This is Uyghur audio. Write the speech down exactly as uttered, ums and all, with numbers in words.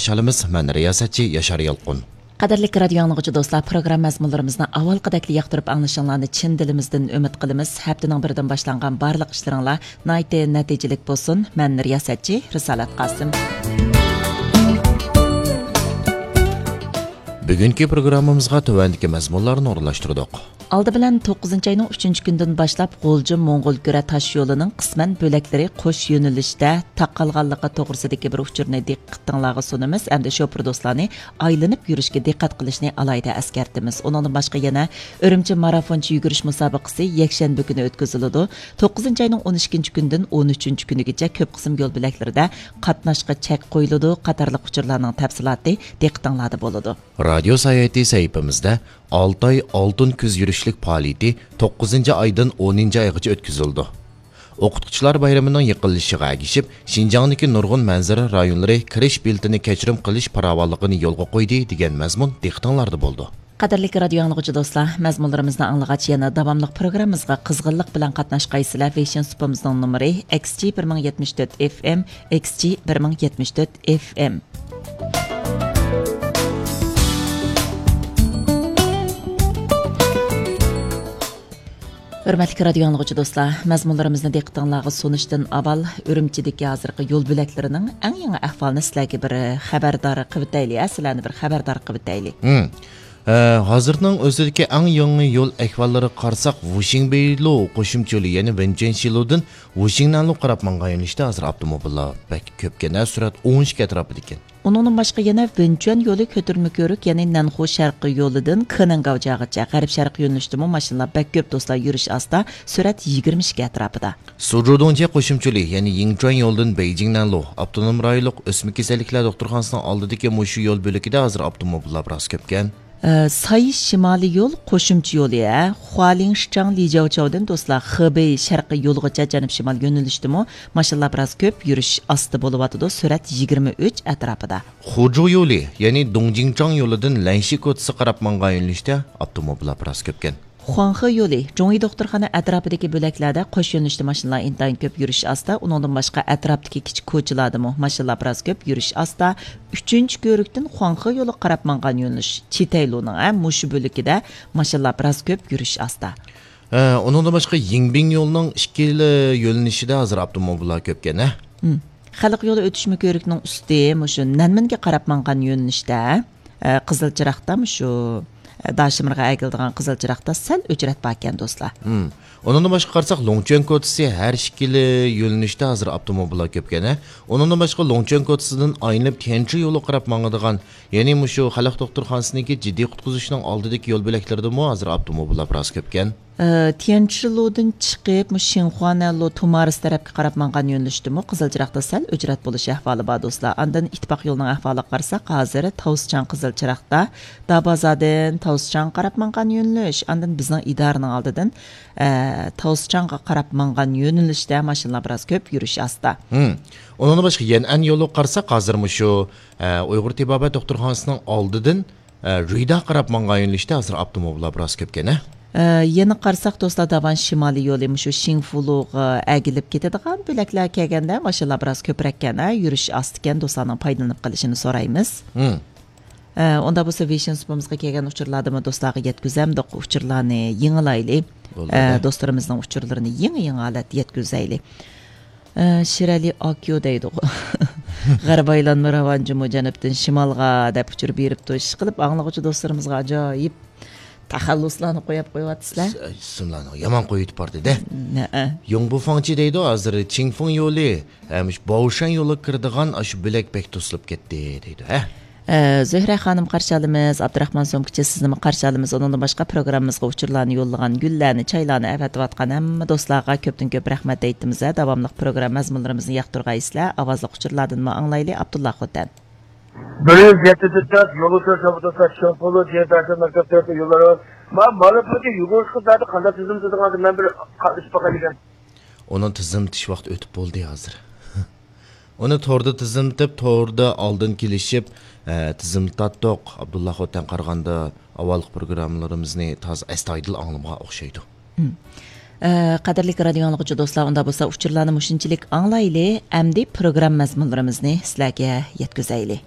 چالىمىز، مەن رىياسەتچى ياشار يالقۇن. قەدىرلىك رادىيو ئاڭلىغۇچى دوستلار، پروگرامما مەزمۇنلىرىمىزنى ئاۋۋالقىدەكلا ياقتۇرۇپ ئاڭلىشىڭلارنى چىن دىلىمىزدىن ئۈمىد قىلىمىز. ھەپتىنىڭ بىرىدىن باشلانغان بارلىق ئىشلىرىڭلار ناھايىتى نەتىجىلىك بولسۇن. مەن رىياسەتچى رىسالەت قاسىم. بۈگۈنكى پروگراممىمىزغا تۆۋەندىكى مەزمۇنلارنى ئورۇنلاشتۇردۇق. ئالدى بىلەن توققۇزىنچى ئاينىڭ ئۈچىنچى كۈنىدىن باشلاپ غۇلجا موڭغۇلكۈرە تاش يولىنىڭ قىسمەن بۆلەكلىرى قوش يۆنىلىشتە تاقالغانلىقى توغرىسىدىكى بىر ئۇچۇرنى دىققىتىڭلارغا سۇنىمىز. ئەمدى شوپۇر دوستلارنى ئايلىنىپ يۈرۈشكە دىققەت قىلىشنى ئالاھىدە ئەسكەرتىمىز. ئۇنىڭدىن باشقا يەنە ئۈرۈمچى مارافونچە يۈگۈرۈش مۇسابىقىسى يەكشەنبە كۈنى ئۆتكۈزۈلىدۇ. توققۇزىنچى ئاينىڭ ئون ئىككىنچى كۈنىدىن ئون ئۈچىنچى كۈنىگىچە كۆپ قىسىم يول بۆلەكلىرىدە قاتناشقا چەك قويۇلىدۇ قاتارلىق ئۇچۇرلارنىڭ تەپسىلاتى دىققىتىڭلاردا بولىدۇ. رادىيو ساياھىتى سەھىپىمىزدە ئالتاي ئالتۇن كۈز يۈرۈشلۈك پائالىيىتى توققۇزىنچى ئايدىن ئونىنچى ئايغىچە ئۆتكۈزۈلىدۇ. ئوقۇتقۇچىلار بايرىمىنىڭ يېقىنلىشىشىغا ئەگىشىپ، شىنجاڭدىكى نۇرغۇن مەنزىرە رايونلىرى كىرىش بېلىتىنى كەچۈرۈم قىلىش پاراۋانلىقىنى يولغا قويدى، دېگەن مەزمۇن دىققىتىڭلاردا بولىدۇ. قەدىرلىك رادىيو ئاڭلىغۇچى دوستلار، مەزمۇنلىرىمىزنى ئاڭلىغاچ يەنە داۋاملىق پروگراممىمىزغا قىزغىنلىق بىلەن قاتناشقايسىلەر. ۋېيشىن سۇپىمىزنىڭ نومۇرى ئېكس جى بىر مىڭ يەتمىش تۆت ئېف ئېم، ئېكس جى بىر مىڭ يەتمىش تۆت ئېف ئېم. ھۆرمەتلىك رادىيو ئاڭلىغۇچى دوستلار، مەزمۇنلىرىمىزنى دىققىتىڭلارغا سۇنۇشتىن ئاۋۋال ئۈرۈمچىدىكى ھازىرقى يول بۆلەكلىرىنىڭ ئەڭ يېڭى ئەھۋالىنى سىلەرگە بىر خەۋەردار قىلىۋېتەيلى، ھە، سىلەرنى بىر خەۋەردار قىلىۋېتەيلى. ھە، ھازىرنىڭ ئۆزىدىكى ئەڭ يېڭى يول ئەھۋاللىرىغا قارىساق، ۋۇشىڭبېيلۇ قوشۇمچە يولى، يەنى ۋېنچۈەنشىلۇدىن ۋۇشىڭنەنلۇ قاراپ ماڭغان يۆنىلىشتە ھازىر ئاپتوموبىللار بەك كۆپكەن، ھە، سۈرئەت ئون ئىككى ئەتراپىدىكەن. ئۇنىڭدىن باشقا يەنە ۋېنچۈەن يولى كۆتۈرمە كۆۋرۈك، يەنى نەنخۇ شەرقىي يولىدىن كېنەنگاۋجياغىچە غەرب شەرقىي يۆنىلىشتىمۇ ماشىنىلار بەك كۆپ دوستلار، يۈرۈش ئاستا، سۈرئەت يىگىرمە ئىككى ئەتراپىدا. سۇجۇدۇڭجيې قوشۇمچە يولى، يەنى يىڭچۈەن يولىدىن بېيجىڭ نەنلۇ ئاپتونوم رايونلۇق ئۆسمە كېسەللىكلەر دوختۇرخانىسىنىڭ ئالدىدىكى مۇشۇ يول بۆلىكىدە ھازىر ئاپتوموبىللار بىراز كۆپكەن. ئە، ساي شىمالىي يول قوشۇمچە يولى، ھە، خۇالىڭشىچاڭ لىجياۋچاۋدىن دوستلار خېبېي شەرقىي يولىغىچە جەنۇب شىمال يۆنىلىشتىمۇ ماشىنىلار بىراز كۆپ، يۈرۈش ئاستا بولۇۋاتىدۇ، سۈرئەت يىگىرمە ئۈچ ئەتراپىدا. خۇجۇ يولى، يەنى دۇڭجىڭچاڭ يولىدىن لەنشى كوچىسى قاراپ ماڭغان يۆنىلىشتە ئاپتوموبىللار بىراز كۆپكەن. خۇاڭخې يولى، جۇڭيى دوختۇرخانا ئەتراپىدىكى بۆلەكلەردە قوش يۆنىلىشتە ماشىنىلار ئىنتايىن كۆپ، يۈرۈش ئاستا. ئۇنىڭدىن باشقا ئەتراپتىكى كىچىك كوچىلاردىمۇ ماشىنىلار بىراز كۆپ، يۈرۈش ئاستا. ئۈچىنچى كۆۋرۈكتىن خۇاڭخې يولىغا قاراپ ماڭغان يۆنىلىش چىتەيلۇنىڭ، ھە، مۇشۇ بۆلىكىدە ماشىنىلار بىراز كۆپ، يۈرۈش ئاستا. ھە، ئۇنىڭدىن باشقا يىڭبىڭ يولىنىڭ ئىككىلا يۆنىلىشىدە ھازىر ئاپتوموبىللار كۆپكەن، ھە؟ مم. خەلق يولى ئۆتۈشمە كۆۋرۈكنىڭ ئۈستى مۇشۇ نەنمىنگە قاراپ ماڭغان يۆنىلىشتە، ئە، قىزىل چىراغدا مۇشۇ، ئە، داشىمىرغا ئەگىلىدىغان قىزىل چىراغدا سەل ئۆچرەت باركەن، دوستلار. مم. ئۇنىڭدىن باشقا قارىساق، لوڭچۈەن كوچىسى ھەر ئىككىلا يۆنىلىشتە ھازىر ئاپتوموبىللار كۆپكەن، ھە؟ ئۇنىڭدىن باشقا لوڭچۈەن كوچىسىدىن ئايلىنىپ تيەنشى يولىغا قاراپ ماڭىدىغان، يەنى مۇشۇ خەلق دوختۇرخانىسىنىڭكى جىددىي قۇتقۇزۇشنىڭ ئالدىدىكى يول بۆلەكلىرىدىمۇ ھازىر ئاپتوموبىللار بىراز كۆپكەن. ئە، تيەنشىلۇدىن چىقىپ، مۇشۇ شىنخۇانەنلۇ تۇمارىس تەرەپكە قاراپ ماڭغان يۆنىلىشتىمۇ قىزىل چىراغدا سەل ئۆچرەت بولۇش ئەھۋالى بار، دوستلار. ئاندىن ئىتتىپاق يولىنىڭ ئەھۋالىغا قارىساق، ھازىر تاۋسىچاڭ قىزىل چىراغدا، دابازادىن تاۋسىچاڭغا قاراپ ماڭغان يۆنىلىش، ئاندىن بىزنىڭ ئىدارىنىڭ ئالدىدىن، ئە، تاۋسىچاڭغا قاراپ ماڭغان يۆنىلىشتە ماشىنىلار بىراز كۆپ، يۈرۈش ئاستا. ھىم. ئۇنىڭدىن باشقا يەنئەن يولىغا قارىساق، ھازىر مۇشۇ، ئە، ئۇيغۇر تېبابەت دوختۇرخانىسىنىڭ ئالدىدىن ئە، رۇيدا قاراپ ماڭغان يۆنىلىشتە ھازىر ئاپتوموبىللار بىراز كۆپكەن، ھە؟ ئە، يەنە قارىساق، دوستلار، داۋان شىمالىي يولى مۇشۇ شىڭفۇلۇغا ئەگىلىپ كېتىدىغان بۆلەكلەرگە كەلگەندە ماشىنىلار بىراز كۆپرەككەن، ھە؟ يۈرۈش ئاستىكەن، دوستلارنىڭ پايدىلىنىپ قېلىشىنى سورايمىز. ھىم. ئە، ئۇندا بولسا ۋېيشىن سۇپىمىزغا كەلگەن ئۇچۇرلاردىمۇ دوستلارغا يەتكۈزەمدۇق، ئۇچۇرلارنى يېڭىلايلى. بولدى، ئە، ھە. دوستلىرىمىزنىڭ ئۇچۇرلىرىنى يېڭى، يېڭى ھالەتتە يەتكۈزەيلى. ئە، شىرئەلى ئاكيو دەيدىغۇ. غەرب ئايلانما راۋانجىمۇ جەنۇبتىن شىمالغا دەپ ئۇچۇر بېرىپتۇ. ئىشقىلىپ، ئاڭلىغۇچى دوستلىرىمىزغا ئاجايىپ تەخەللۇسلارنى قويۇپ قويۇۋاتىسىلەر. ئىس-، ئىسىملارنى يامان قويۇۋېتىپ باردى-دە. نەئە. يۇڭبۇ فاڭچى دەيدۇ، ھازىر چىڭفېڭ يولى، ھەم شۇ باۋشەن يولىغا كىرىدىغان ئاشۇ بۆلەك بەك توسۇلۇپ كەتتى دەيدۇ، ھە؟ ئە، زۆھرە خانىم قارشى ئالىمىز، ئابدۇراخمان سومكىچى سىزنىمۇ قارشى ئالىمىز. ئۇنىڭدىن باشقا پروگراممىمىزغا ئۇچۇرلارنى يوللىغان، گۈللەرنى، چايلارنى ئەۋەتىۋاتقان ھەممە دوستلارغا كۆپتىن كۆپ رەھمەت ئېيتىمىز. داۋاملىق پروگرامما مەزمۇنلىرىمىزنى ياقتۇرغايسىلەر. ئاۋازلىق ئۇچۇرلاردىنمۇ ئاڭلايلى، ئابدۇللا خوتەن. بىر يۈز يەتتە تۆت يولى تۆت، شوپۇر تۆت، شوپۇرلۇ، جىيەن تەسىر مەكتەپ تۆت يوللىرى. ما-، مانا بۇ يۈگۈرۈشكە زادى قانداق تۈزۈم تۈزىدىغان، مەن بىر قا-، ئىش باقاي دېگەن. ئۇنىڭ تىزىملىتىش ۋاقتى ئۆتۈپ بولدى ھازىر. ئۇنى توردا تىزىملىتىپ، توردا ئالدىن كېلىشىپ، ئە، تىزىملىتاتتۇق. ئابدۇللا خوتەن قارىغاندا ئاۋۋالقى پروگراممىلىرىمىزنى تازا ئەستايىدىل ئاڭلىمىغان ئوخشايدۇ. ھىم. ئە، قەدىرلىك رادىيو ئاڭلىغۇچى دوستلار، ئۇندا بولسا ئۇچۇرلارنى مۇشۇنچىلىك ئاڭلايلى، ئەمدى پروگرامما مەزمۇنلىرىمىزنى سىلەرگە يەتكۈزەيلى.